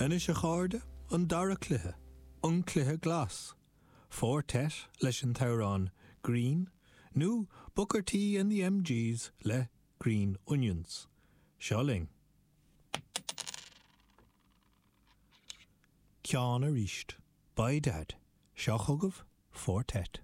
Anois a chairde, an dara cluiche, an cluiche glas. Four Tet leis an t-amhrán 'Green' nó Booker T and the MGs le 'Green Onions'. Seo linn. Ceann arís. By dad. Seo chugaibh Four Tet.